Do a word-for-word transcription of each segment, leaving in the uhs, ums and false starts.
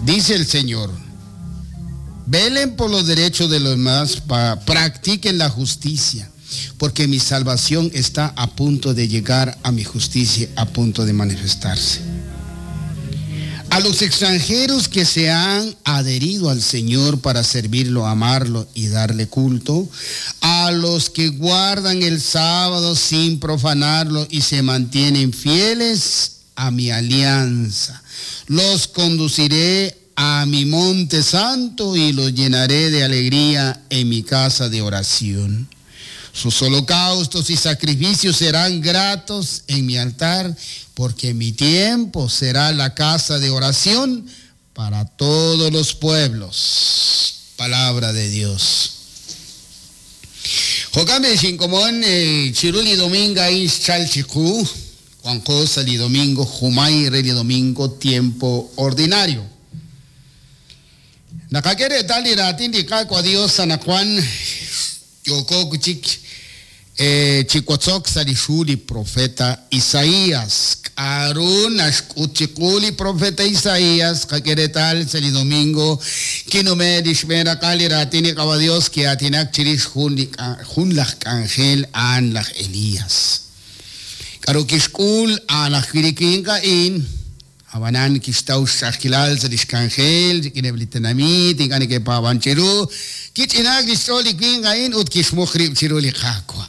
Dice el Señor, velen por los derechos de los demás, practiquen la justicia, porque mi salvación está a punto de llegar a mi justicia, a punto de manifestarse. A los extranjeros que se han adherido al Señor para servirlo, amarlo y darle culto, a los que guardan el sábado sin profanarlo y se mantienen fieles a mi alianza, los conduciré a mi monte santo y los llenaré de alegría en mi casa de oración. Sus holocaustos y sacrificios serán gratos en mi altar, porque mi tiempo será la casa de oración para todos los pueblos. Palabra de Dios. Jokame Shinkomón, Chiruli Dominga Ischalchiku, Juan José Domingo, Jumay Rey Domingo, tiempo ordinario. Nakakere tali ratin di kakwa Dios Sanajuan. Yokokuchik Chikuatzok Sarishuli profeta Isaías. Karun Ashkuchikuli profeta Isaías. Kakeretal Sali Domingo. Kinume Dishmera Kali Ratini Kabadios que Atinak Chirish Junlach Angel Anlach Elías. Karukishkul Anach In. Abanan Kistaush Ashkilal Sarishkangel, Kineblitanamit, Inganike Pavanchiru, Kichinak Distoli Kingain, Utkishmukrib Chiruli Kakwa.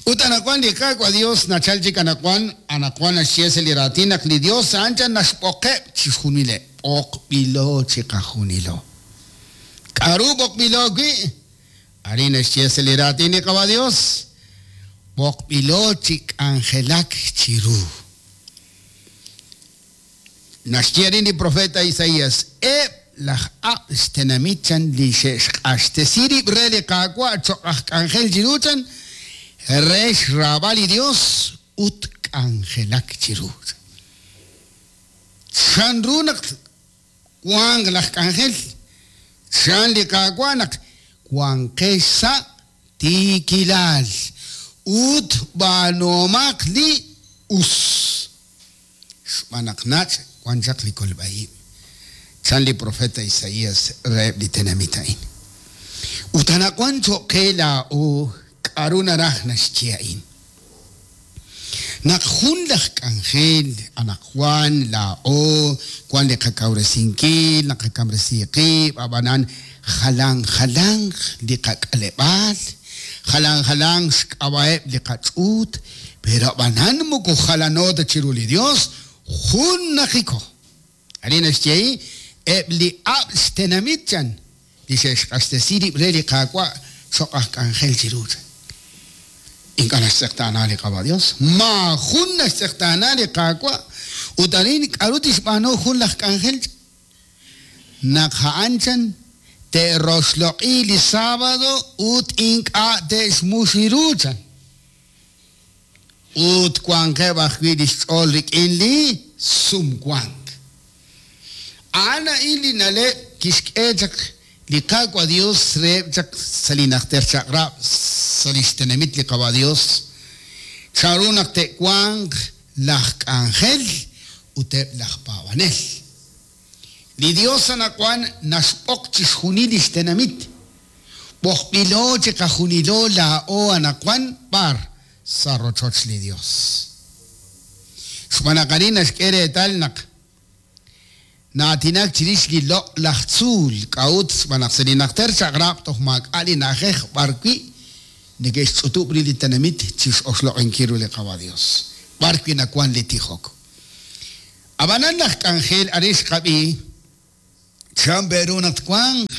Utanakuan di Kakwa Dios, Nachalchik Anakuan, Anakuan Ashiesel Iratinak, Li Dios, Ancha Nashpoke, Chihunile, Ok Bilo Chikajunilo. Karubok Bilogi, Arina Shiesel Iratini Kaba Dios, Bok Bilo Chik Angelak Chiru. Nashtiarini profeta Isaías, e laj abstenamichan lisheshtesiri brele kakwa angel jiruchan resh rabali Dios ut angelak chiru. Chan runak kuang laj angel chan li kakwanak kuang kesa tikilal ut banomak li us. Manaknach Juan Likolbaim. Chanli profeta Isaías reb litenamitain. Utanakuancho que la o karunaraj nashchiain. Nak jun laj k'anjel anaqwan la o kwan li qakawresinkil naqakamresiqib ab'anan jalan jalan li qak'aleb'al jalan jalan xk'ab'aeb li qach'ut pero ab'anan moko jalanota chiru li Dios jun najiko. Arina xchei eb li abstenamichan li xexq'axtesiri re li qakwa xoq'aj k'anjel chiru. Inka naxtz'eqtaana li qaba Dios ma jun naxtz'eqtaana li qakwa ut arin k'aru tixb'aanu jun laj k'anjel naq ha'anchan te'roxloq'i li sábado ut ink'a' te'xmuxiruchan ut wanqeb' ajwi' li xch'ool rik'in li sumwank. A'an a'in li na'leb' kixk'e chaq li qakwa Dios reheb' chaq sa' li najter chaq'rab' sa' li xtenamit li qaba Dios charu naq te'wanq laj k'anjel ut eb' laj paab'anel. Li Dios anaqwan naxb'oq chixjunil li xtenamit b'oqb'ilo chiqajunilo laa'o anaqwan b'ar sa' rochoch li Dios. Xb'aan arin naxk'e reetal naq naatinak chirix li loq' laj tzuul k'a'ut xb'aan naq sa' li najter chaq'rab' toj maak'a' li na'ajej b'ar wi' neke'xch'utub' ri li tenamit chix'oxloq'inkil ru li qaba Dios b'ar wi' nawan li tijok. Ab'anan laj k'anjel arin xqab'i chan beru naq twanq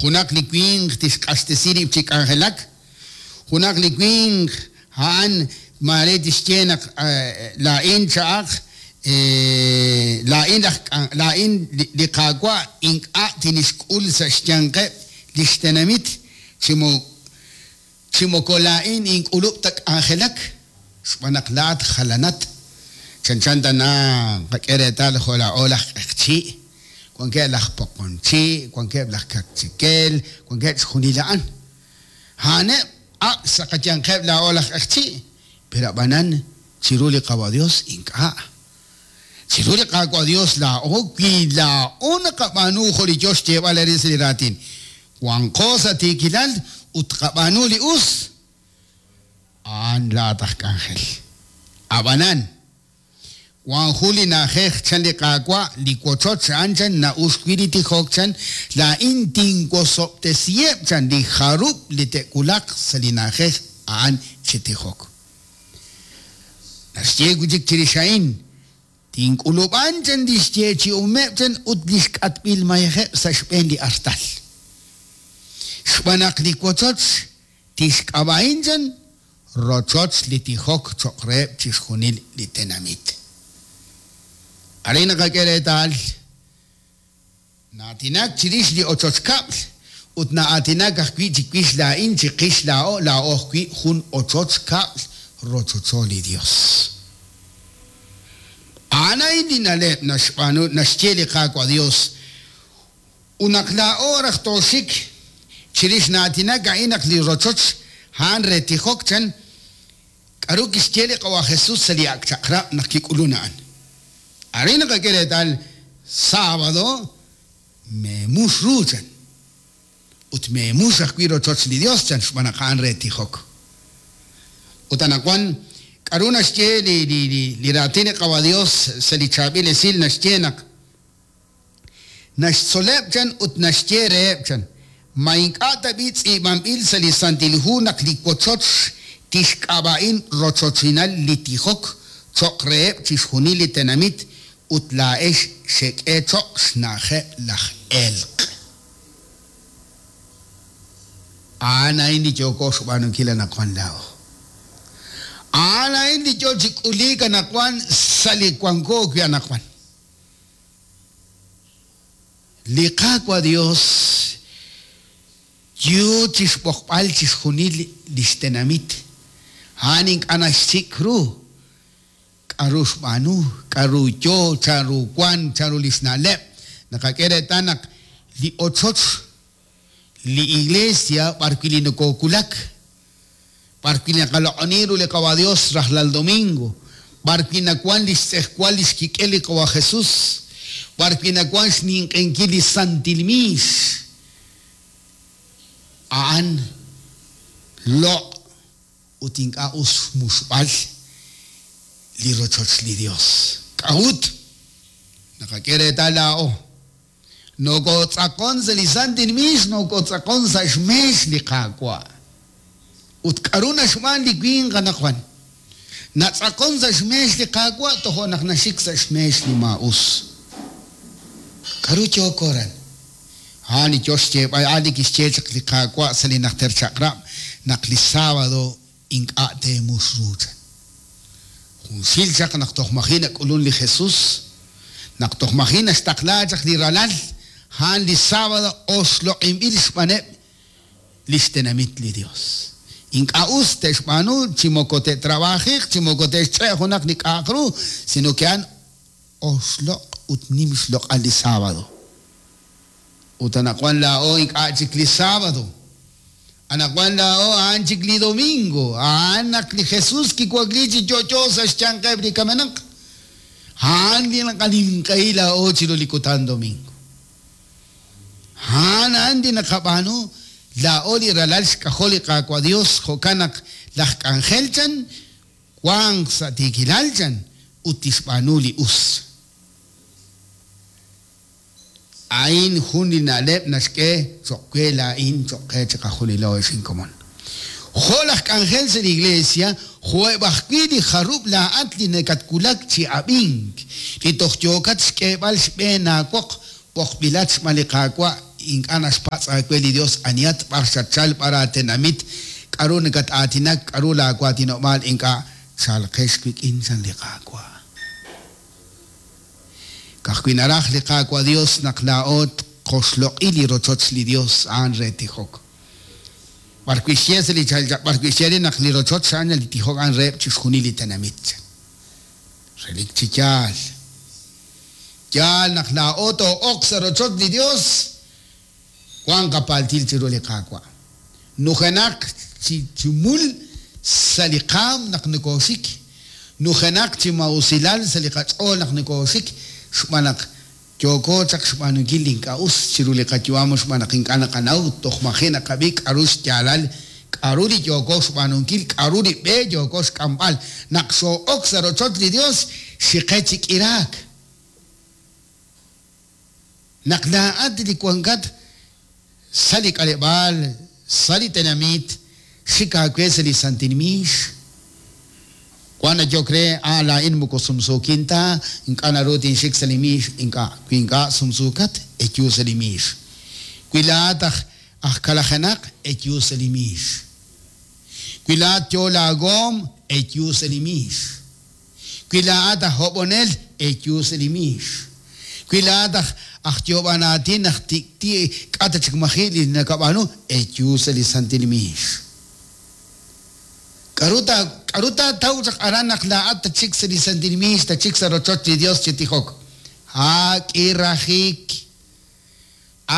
junaq li winq tixq'axtesi rib' chi k'anjelak junaq li winq ha'an mare tixye naq la'in cha'aq la'in laj la'in li qakwa ink'a' tinixk'ul sa' xyanqeb' li xtenamit chimo chimoko la'in ink'ulub' ta k'anjelak xb'aan naq la'at jalanat chanchan tana qak'e reetal jo' la'o laj q'eqchi' wankeb' laj poqonchi' wankeb' laj kakchikel wankeb' xjunil a'an ha'aneb' ab' sa' qayanqeb' la'o laj q'eqchi' pero ab'anan chiru li qaba Dios ink'a' Chiru li Qaawa' Dios laa'o wi laa'o naqab'aanu jo' li yo xyeeb'al arin sa' li raatin. Wanqo sa' tiikilal ut qab'aanu li us. A'an laa'at aj k'anjel. Ab'anan, wan jun li na'ajej chan li Qaawa', li wochoch a'an chan na'ux wi' li tijok chan, laa'in tinwosob'tesiheb' chan li jarub' li te'wulaq sa' li na'ajej a'an chi tijok. Naxye wi' chik chirix a'in, tink'ulub'an chan li xyeechi'omeb' chan ut li xk'atb'il mayejeb' sa' xb'een li artal. Xb'aan naq li wochoch tixk'ab'a'in chan rochoch li tijok cho'q reheb' chixjunil li tenamit. Arin naqak'e reetal na'aatinak chirix li ochoch kab'l ut na'aatinak ajwi' chiwix laa'in chiqix laa'o laa'o ajwi' jun ochoch kab'l rochocho li Dios. A'an a'in li na'leb' naxb'aanu naxye li Qaawa' Dios. Ut naq laa'o raj tooxik chirix na'aatinak a'in naq li rochoch a'an re tijok chan k'aru kixye li Qawa' Jesús sa' li ak' chaq'rab' naq kik'ulun a'an. Arin naqak'e reetal sábado meemux ru chan ut meemux ajwi' rochoch li Dios chan xb'aan naq a'an re tijok. Ut anaqwan k'aru naxye li li li li raatin li Qawa' Dios sa' li chaab'il esil naxye naq naxtzoleb' chan ut naxye reheb' chan ma ink'a' tab'i tz'iib'anb'il sa' li Santil Hu naq li wochoch tixk'ab'a'in rochochinal li tijok cho'q reheb' chixjunil li tenamit ut laa'ex xek'e cho'q xna'ajeb' laj elq'. A'an a'in li yooko xb'aanunkil anaqwan laa'o. A'an a'in li yo chi k'uliik anaqwan sa' li wanko wi' anaqwan. Li Qaawa' Dios yo chixb'oqb'al chixjunil li xtenamit. A'an ink'a' naxsik' ru k'aru xb'aanu, k'aru yo, chanru wan, chanru li xna'leb'. Naqak'e reetal naq li ochoch, li iglesia b'ar wi' li nokoowulak, b'ar wi' naqaloq'oni ru li Qawa' Dios rajlal domingo, b'ar wi' nawan li xtz'ejwal li xkik'el li Qawa' Jesús, b'ar wi' nawan xninq'enkil li Santil Miix. A'an loq' ut ink'a' us xmuxb'al li rochoch li Dios. K'a'ut naqak'e reetal laa'o. Nokotz'aqon sa' li Santil Miix, nokotz'aqon sa' xmeex li Qaawa'. Ut k'aru naxb'aan li winq anaqwan. Natz'aqon sa' xmeex li Qaawa' tojo' naq naxik sa' xmeex li maa'us. K'aru yooko ran? A'an li yo xyeeb'al, a'an li kixye chaq li Qaawa' sa' li najter chaq'rab' naq li sábado ink'a' teemux ru chan. Junxil chaq naq toj maji' nak'ulun li Jesús, naq toj maji' naxtaqla chaq li ralal, a'an li sábado oxloq'inb'il xb'aaneb' li xtenamit li Dios. Ink'a' us te'xb'aanu chi moko te'trabajiq, chi moko te'xch'e' junaq li k'a'aq ru, sino que a'an oxloq' ut nim xloq'al li sábado. Ut anaqwan laa'o ink'a' chik li sábado. Anaqwan laa'o a'an chik li domingo. A'an naq li Jesús kiwakli chi yo'yo sa' xyanqeb' li kamenaq. A'an li naqaninq'ehi laa'o chiru li kutan domingo. A'an a'an li naqab'aanu laa'o li ralal xk'ajol li Qaawa' Dios jo'kan naq laj k'anjel chan wanq sa' tiikilal chan ut tixb'aanu li us. A'in jun li na'leb' naxk'e cho'q we laa'in cho'q qe chiqajunilo ex inkomon. Jo' laj k'anjel sa' li iglesia, jo'eb' ajwi' li jarub' laa'at li nakatwulak chi ab'ink, li toj yookat xk'eeb'al xb'een aawoq b'oqb'ilat xb'aan li Qaawa' ink'a' naxpatz' aawe li Dios anihat b'ar xatchal b'ar aatenamit, k'aru nakat-aatinak, k'aru laawatinob'aal ink'a' chalqex wik'in chan li Qaawa'. Ka'ajwi' naraj li Qaawa' Dios naq laa'o tqoxloq'i li rochoch li Dios a'an re tijok. B'ar wi' xye sa' li b'ar wi' xye naq li rochoch a'an li tijok a'an reheb' chixjunil li tenamit. Relik chi yaal. Yaal naq laa'o too'oq sa' rochoch li Dios wan qapaltil chiru li Qaawa'. Nujenaq chi chi mul sa' li qaam naq nokooxik. Nujenaq chi maa'usilal sa' li qach'ool naq nokooxik xb'aan naq yooko chaq xb'aanunkil li ink'a' us chiru li qayu'am xb'aan naq ink'a' naqanaw toj maji' naqab'i k'aru xyaalal k'aru li yooko xb'aanunkil k'aru li b'e yooko xk'amb'al naq xoo'ok sa' rochoch li Dios xiqe chi k'iraak naq laa'at li wankat sa' li k'aleb'aal sa' li tenamit xik aawe sa' li santil miix wan nayok re a laa'in moko sumsuukin ta ink'a' naru tinxik sa' li miix ink'a' wi ink'a' sumsuukat eyu sa' li miix wi laa'at aj aj kalajenaq eyu sa' li miix wi laa'at yo laagoom eyu sa' li miix wi laa'at aj hob'onel eyu sa' li miix wi laa'at aj aj yoob'an aatin aj tik'ti' k'a' ta chik maji' li nakab'aanu eyu sa' li santil miix k'aru ta k'aru taataw chaq aran naq laa'at tachik sa' li santil miix tachik sa' rochoch li Dios chi tijok ha k'irajik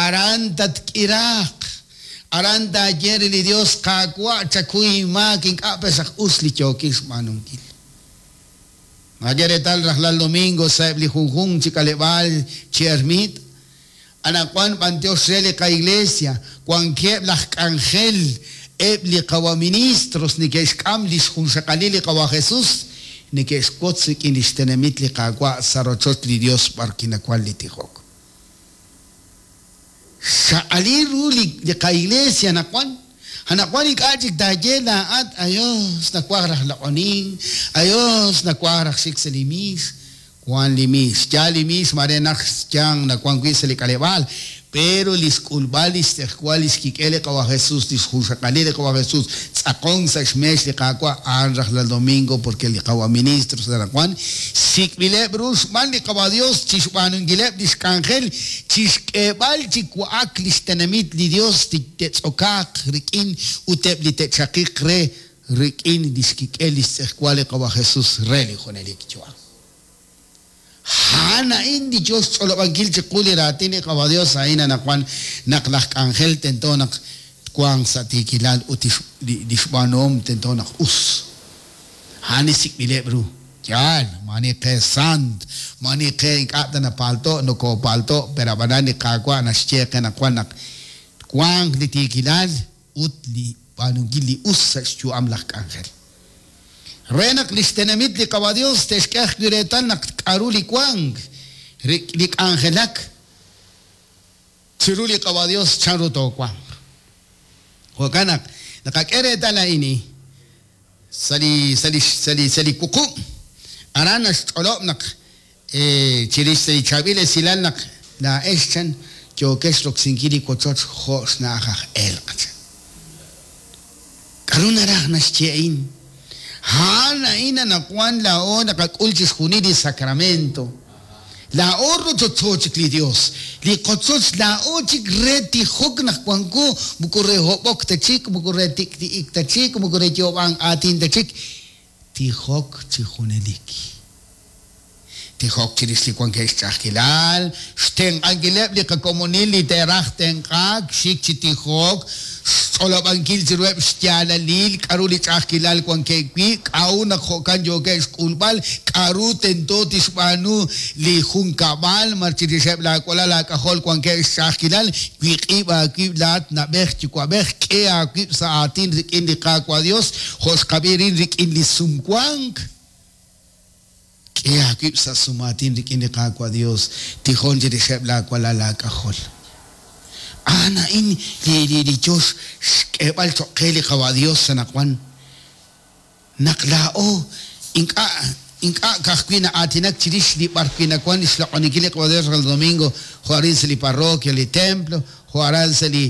aran tatk'iraaq aran taaye re li Dios Qaawa' chakuy maak ink'a' pexaq us li yookin xb'aanunkil Naqak'e reetal rajlal domingo sa'eb' li junjunq chi k'aleb'aal chi ermit anaqwan b'antiox re li qa'iglesia wankeb' laj k'anjel eb' li qawa ministros neke'xk'am li xjunxaqalil li qawa Jesús neke'xwotz rik'in li xtenamit li Qaawa' sa' rochoch li Dios b'ar kinawan li tijok xaqalil ru li li qa'iglesia anaqwan anaqwan ink'a' chik taaye laa'at ayos nawaj raj loq'onink ayos nawaj raj xik sa' li miix wan li miix yaal li miix mare naq xyanq nawan wi' sa' li k'aleb'aal pero li xk'ulb'al li xtz'ejwal li xkik'el li qawa Jesús li xjunxaqalil li qawa Jesús tz'aqon sa' xmeex li Qaawa' a'an rajlal domingo porque li qawa ministros anaqwan sik'b'ileb' ru xb'aan li qawa Dios chi xb'aanunkileb' li xk'anjel chi xk'eeb'al chi wa'ak li xtenamit li Dios te'tz'okaaq rik'in ut eb' li te'chaqiq re rik'in li xkik'el li xtz'ejwal li qawa Jesús re li junelik yu'am a'an a'in li yo xch'olob'ankil chiqu li raatin li qawa Dios a'in anaqwan naq laj k'anjel tento naq twanq sa' tiikilal ut li xb'aanuhom tento naq us a'an li sik'b'ileb' ru yaal maani qe sant maani qe ink'a' ta napalto' nokopalto' pero ab'anan li Qaawa' naxye qe naqwan naq twanq li tiikilal ut li b'aanunkil li us sa' xyu'am laj k'anjel re naq li xtenamit li qawa Dios te'xk'e ajwi' reetal naq k'aru li wank li k'anjelak chiru li qawa Dios chanru toowanq jo'kan naq naqak'e reetal a'in sa' li sa' li sa' li sa' li wuqub' aran naxch'olob' naq chirix sa' li chaab'il esilal naq laa'ex chan yookex roksinkil li wochoch jo' xna'aj aj elq' chan k'aru naraj naxye a'in a'an a'in anaqwan laa'o naqak'ul chixjunil li sacramento laa'o rochocho chik li Dios li qochoch laa'o chik re tijok naq wanko moko re hob'ok ta chik moko re tik'ti'ik ta chik moko re yoob'an aatin ta chik tijok chi junelik tijok chirix li wankeb' xch'a'ajkilal xtenq'ankileb' li qakomonil li te'raj tenq'aak xik chi tijok xch'olob'ankil chiruheb' xyaalalil k'aru li ch'a'ajkilal wankeb' wi' k'a'u naq jo'kan yookeb' xk'ulb'al k'aru tento tixb'aanu li junkab'al mar chirixeb' laawalal laak'ajol wankeb' xch'a'ajkilal wiq'ib' aawib' laat na'b'ej yuwa'b'ej k'e aawib' sa' aatin rik'in li Qaawa' Dios jo' xqab'i rin rik'in li sumwank k'e aawib' sa' sumaatin rik'in li Qaawa' Dios tijon chirixeb' laawalal laak'ajol a'an a'in li li li yo xk'eeb'al cho'q qe li qawa Dios anaqwan naq laa'o ink'a' ink'a' ka'ajwi' na'aatinak chirix li b'ar wi' nawan xloq'oninkil li qawa Dios rajlal domingo jo' arin sa' li parroquia li templo jo' aran sa' li